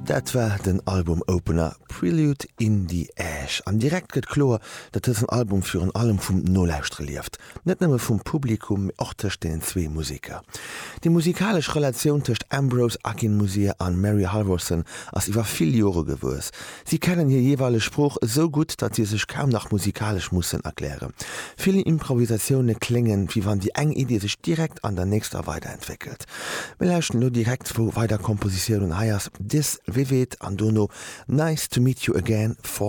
Dat war den Album-Opener Prelude in the Ash. An direkt gëtt kloer, datt dësen Album virun allem vum Nolauschtere lieft. Net nëmme vum Publikum, mee och tëscht deenen zwee Museker. Déi musikalesch Relatioun tëscht Ambrose Akinmusire an Mary Halvorson ass iwwer vill Jore gewuess. Si kennen hir jeeweileg Sprooch esou gutt, datt si sech kaum nach musikalesch mussen erklären. Vill Improvisatioune kléngen, wéi wann déi eng Idee sech direkt an der nächster weiderentwéckelt. Mir lauschten elo direkt zwou weider Kompositiounen, hei ass This Vivid an dono Nice to Meet You Again, Fall.